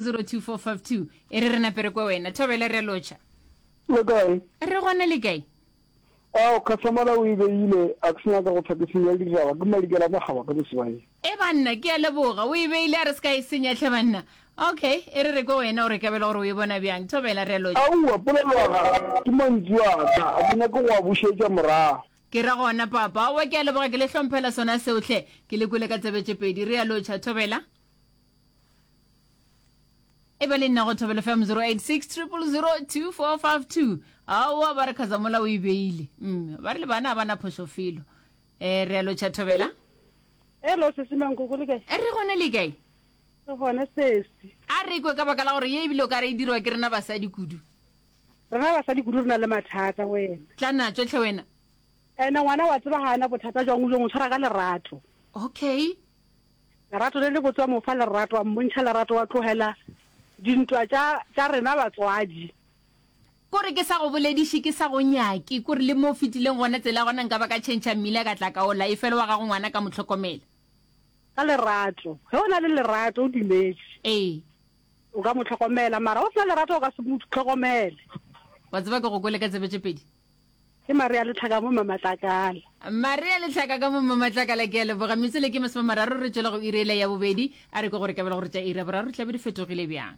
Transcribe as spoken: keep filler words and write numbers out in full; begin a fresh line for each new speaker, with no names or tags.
zero two four five two e re re nape re kwe wena thobela re a lotšha
Le kae?
Re gona le kae?
Ao, customer o e beile, a ke se nyaka go hlwa ke senya ditaba, ke Madikela Makgaba ka Mosebanyeng.
E banna, ke a leboga. O e beile a re se ka e senya hle banna. Okay, e re re kwe wena o re kabela gore o e bona bjang. Thobela re a lotšha.
Aowa, polelo ya gago ke mantšu a ka, a ke nyake go a bušetša morago.
Ke ra gona papa. Aowa, ke a leboga, ke le hlomphela sona seo hle. Ke le kwele ka tsebe tše pedi. Re a lotšha, Thobela. E ba le nna go Thobela F M zero eight six triple zero two four five two. Aowa, ba re Khazamola o e beile. Mm, ba re le bana ga ba na phošo felo. Eh, re a lotšha Thobela.
Hello, sesi Mankoko, le kae?
Re gona le kae?
Re gona sesi.
A re kwe ka baka la gore ye ebile o ka re e dirwa ke rena basadi kudu.
Rena basadi kudu re na le mathata wena.
Tla natšo hle wena.
Ene ngwana wa tseba ga ana bothata jwang o mo tshwara ka lerato.
Okay.
Lerato le le botse wa mo fa lerato wa mmontšha lerato wa tlogela dintwa tša tša rena batswadi.
Kore ke sa go bolediše ke sa go nyake kore le mo o fetileng gona tsela ya gona nka ba ka tšhentšha mmila ka tla ka ola efela wa gago ngwana ka mo hlokomela.
Ka lerato ge o na le lerato o dumetše.
Ee.
O ka mo hlokomela mara o se na lerato o ka se mo hlokomele.
Wa tseba ke go kwele ka tsebe tše pedi.
Ke Maria Letlhaka mo Mmamatlakala.
Maria Letlhaka ka mo Mmamatlakala, ke a leboga. Metswele ke masomemararo re tšwela go iri yela ya bobedi. A re kwe gore kabelo gore tša iri ya boraro di tla be di fetogile bjang.